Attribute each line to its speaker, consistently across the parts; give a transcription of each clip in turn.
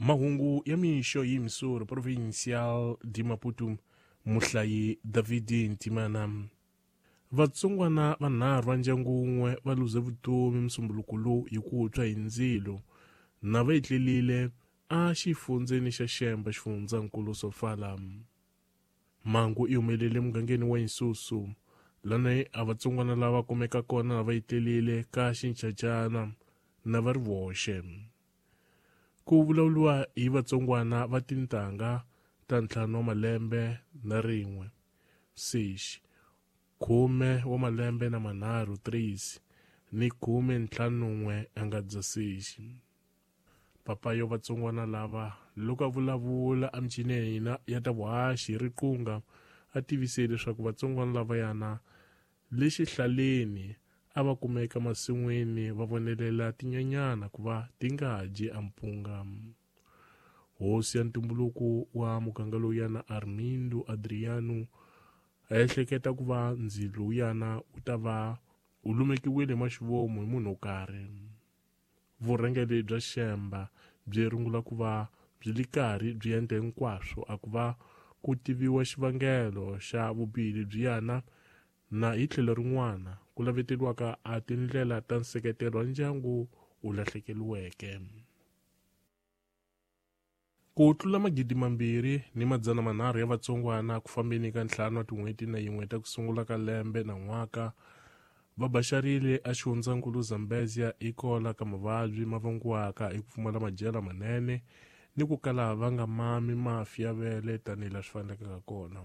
Speaker 1: Mahungu ya mixo hi Missouri Provincial de Maputo, muhlayi David Ntimana. Vatsongwana vanharhu va ndyangu wun'we va luze vutomi musumbuluko lowu hi ku tshwa hi ndzilo na va etlelile a xifundzeni xa Xemba xifundzankulu Sofala. Mhangu yi humelele mugangeni wa Isusu lani a vatsongwana lava kumeka kona va etlelile ka xinchachana na va ri voxe. Ku vulavuriwa hi vatsongwana va tintangha ta 5 wa malembe na 1, 6, 10 wa malembe na 3, 3 ni 51 a nga bya 6. Papa yo vatsongwana lava loko a vulavula emicineni ya ta vuhaxi hi riqunga a tivise leswaku vatsongwana lava yana le xihlaleni a va kumeka masin'wini va vonelela tinyanyana ku va ti nga dyi ampunga. Hosi ya ntumbuluko wa muganga lowuyana Armindo Adriano a ehleketa ku va ndzilo lowuyana wu ta va wu lumekiwile maxivomu hi munhu wo karhi. Vurhangeri bya Xemba byi rungula ku va byi li karhi byi endla hinkwaswo a ku va ku tiviwa xivangelo xa vubihi lebyiyana na hi tlhelo rin'wana ku laveteriwaka a tindlela ta nseketelo wa ndyangu wu lahlekeriweke. Ku tlula 2,300 ya vatsongwana ku fambeni ka 5 wa tin'hweti na yin'we ta ku sungula ka lembe na n'waka va baxarile a xifundzankulu Zambezia hikola ka mavabyi ma vangiwaka hi ku pfumala madyelo manene ni ku kala va nga mami mafi ya vele tanihi laha swi faneleke kona.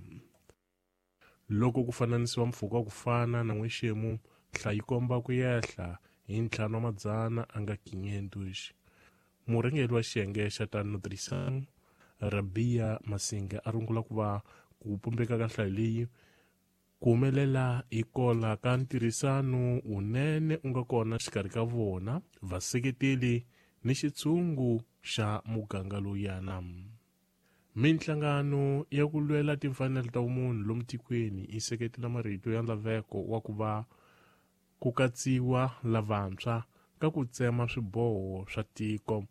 Speaker 1: Loko ku fananisiwa mpfhuka wa ku fana na n'wexemu, nhlayo yi komba ku yehla hi 5 wa madzana a nga 500. Murhangeri wa xiyenge xa ta nutrition Rabia Masinga a rungula ku va ku pumbeka ka nhlayo leyi ku humelela hikola ka ntirhisano wunene u nga kona xikarhi ka vona vaseketeli ni xitshungu xa muganga lowuyana. Minhlangano ya ku lwela timfanelo ta vumunhu lomu tikweni yi seketela marito ya laveko wa ku va ku katsiwa lavantshwa ka ku tsema swiboho swa tiko,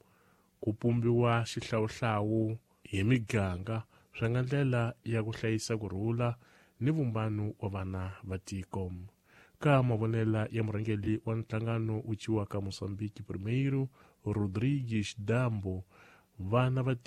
Speaker 1: ku pumbiwa xihlawuhlawu hi miganga swi nga ndlela ya ku hlayisa kurhula ni vumbano wa vana va tiko. Ka mavonela ya murhangeri wa nhlangano wu ciwaka Mozambique Primeiro, Rodrigues Dambo, vana va